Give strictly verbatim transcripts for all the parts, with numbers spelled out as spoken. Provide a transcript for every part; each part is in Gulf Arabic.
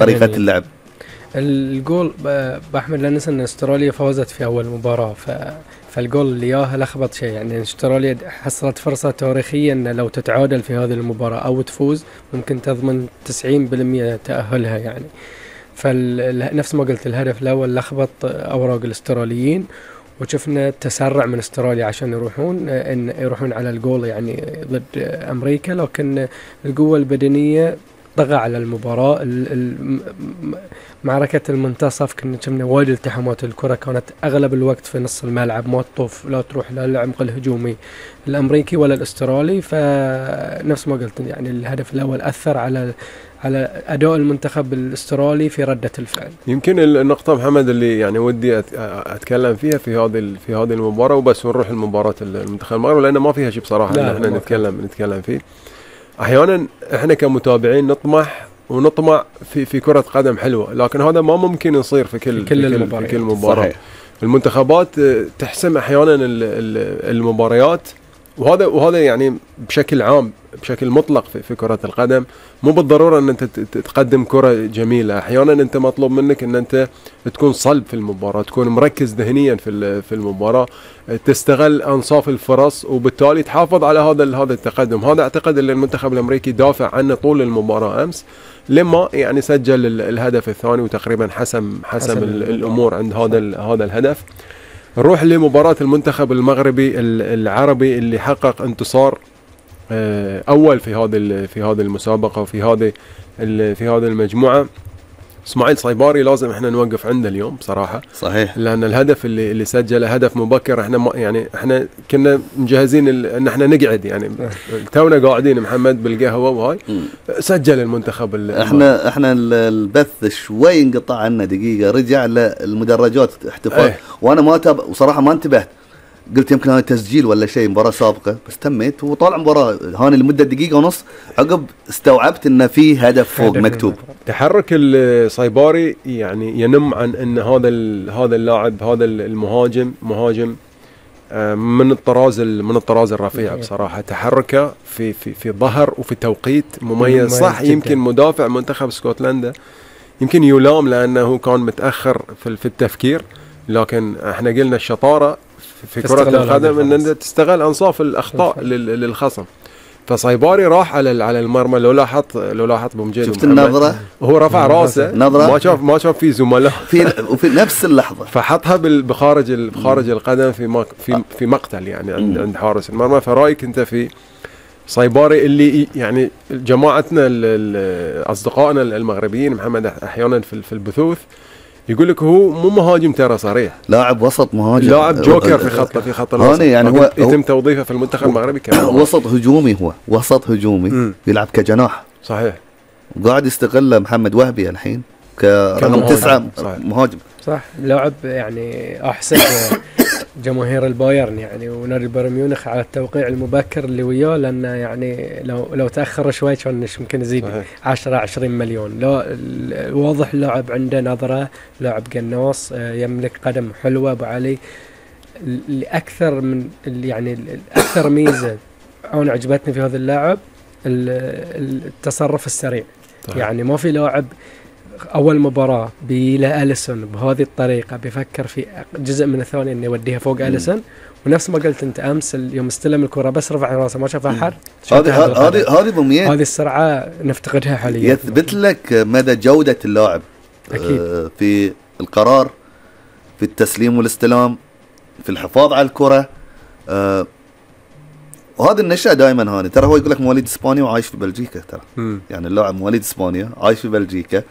طريقة اللعب. الجول بأحمد لا ننسى ان استراليا فازت في اول مباراة، ف فالجول اللي ياها لخبط شيء. يعني استراليا حصلت فرصة تاريخية ان لو تتعادل في هذه المباراة او تفوز ممكن تضمن تسعين بالمئة تأهلها يعني. فنفس ما قلت الهدف الاول لخبط اوراق الاستراليين، وشفنا تسرع من استراليا عشان يروحون ان يروحون على الجول يعني ضد امريكا، لكن القوة البدنية طغى على المباراة. معركة المنتصف كنا شفنا وايد التحامات، الكرة كانت أغلب الوقت في نص الملعب، ما تطوف لا تروح للعمق الهجومي الأمريكي ولا الأسترالي. فنفس ما قلت يعني الهدف الأول أثر على على أداء المنتخب الأسترالي في ردة الفعل. يمكن النقطة محمد اللي يعني ودي أتكلم فيها في هذه في هذه المباراة وبس، ونروح المباراة المنتخب المغربي لأن ما فيها شيء بصراحة إن إحنا نتكلم نتكلم فيه. أحيانا إحنا كمتابعين نطمح ونطمع في في كرة قدم حلوة، لكن هذا ما ممكن يصير في كل في كل, في المباراة. في كل مباراة. المنتخبات تحسم أحيانا المباريات، وهذا وهذا يعني بشكل عام بشكل مطلق في, في كرة القدم. مو بالضرورة ان انت تقدم كرة جميلة، احيانا انت مطلوب منك ان انت تكون صلب في المباراة، تكون مركز ذهنيا في في المباراة، تستغل انصاف الفرص وبالتالي تحافظ على هذا هذا التقدم. هذا اعتقد ان المنتخب الامريكي دافع عنه طول المباراة امس، لما يعني سجل الهدف الثاني وتقريبا حسم حسم الامور عند هذا هذا الهدف. نروح لمباراة المنتخب المغربي العربي اللي حقق انتصار أول في هذه في هذه المسابقة وفي هذه في هذه المجموعة. اسماعيل صيباري لازم احنا نوقف عنده اليوم بصراحة، صحيح، لأن الهدف اللي اللي سجله هدف مبكر. احنا ما يعني احنا كنا مجهزين ان احنا نقعد يعني تونا قاعدين محمد بالقهوة وهاي سجل المنتخب. احنا احنا البث شوي انقطع عنا دقيقة، رجع للمدرجات احتفال ايه. وانا ما تب... وصراحة ما انتبهت، قلت يمكن هذا تسجيل ولا شيء مباراة سابقة، بس تميت وطالع مباراة هاني لمدة دقيقة ونص، عقب استوعبت ان في هدف فوق مكتوب. تحرك الصيباري يعني ينم عن ان هذا هذا اللاعب هذا المهاجم مهاجم من الطراز من الطراز الرفيع بصراحة. تحركه في في في ظهر وفي توقيت مميز، صح. يمكن مدافع منتخب اسكتلندا يمكن يلام لانه كان متأخر في في التفكير، لكن احنا قلنا الشطارة في كرة القدم ان انت تستغل انصاف الاخطاء للخصم. فصيباري راح على على المرمى، لو لاحظت لو لاحظت بمجد شفت النظرة هو رفع راسه نظرة ما شاف ما شاف في زملاء في وفي نفس اللحظة فحطها بخارج بخارج القدم في في في مقتل يعني عند عند حارس المرمى. فرايك انت في صيباري اللي يعني جماعتنا اصدقائنا المغربيين محمد احيانا في في البثوث يقول لك هو مو مهاجم ترى صريح، لاعب وسط مهاجم، لاعب جوكر في خط في خط الوسط يعني هو يتم توظيفه في المنتخب المغربي كمان وسط هجومي، هو وسط هجومي م. يلعب كجناح صحيح، وقاعد يستغل محمد وهبي الحين كرقم تسعة مهاجم صح. لاعب يعني احسن جماهير البايرن يعني ونادي بايرن ميونخ على التوقيع المبكر اللي وياه، لأنه يعني لو لو تأخر شوي كان ممكن يزيد عشرة عشرين مليون. لا واضح لاعب عنده نظرة، لاعب قناص، يملك قدم حلوة أبو علي. لأكثر من يعني أكثر ميزة أنا عجبتني في هذا اللاعب التصرف السريع. طيب. يعني ما في لاعب أول مباراة بيلا أليسون بهذه الطريقة بيفكر في جزء من الثانية إنه يوديها فوق أليسون، ونفس ما قلت أنت أمس يوم استلم الكرة بس رفع راسه ما شاف أحد. هذه هذه هذه ضمنية، هذه السرعة نفتقدها حاليا، يثبت لك مدى جودة اللاعب أكيد. في القرار، في التسليم والاستلام، في الحفاظ على الكرة. أه وهذا النشأة دائما هاني ترى هو يقول لك مواليد اسبانيا وعايش في بلجيكا ترى م. يعني اللاعب مواليد اسبانيا عايش في بلجيكا،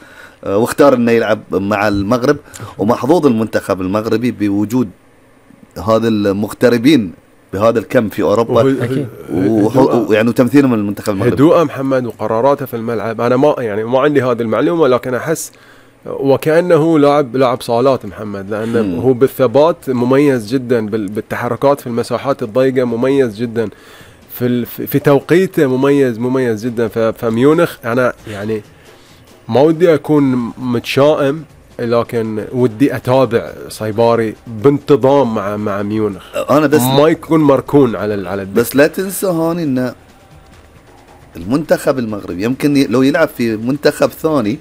أه واختار انه يلعب مع المغرب، ومحظوظ المنتخب المغربي بوجود هذا المغتربين بهذا الكم في اوروبا، ويعني تمثيلهم المنتخب المغربي. هدوء محمد وقراراته في الملعب، انا ما يعني ما عندي هذه المعلومة، لكن احس وكأنه لاعب لاعب صالات محمد، لأنه م. هو بالثبات مميز جدا، بالتحركات في المساحات الضيقة مميز جدا، في في توقيته مميز مميز جدا. فميونخ أنا يعني ما ودي أكون متشائم، لكن ودي أتابع صيباري بانتظام مع مع ميونخ، أنا بس ما يكون مركون على على بس لا تنسى هاني إن المنتخب المغربي يمكن لو يلعب في منتخب ثاني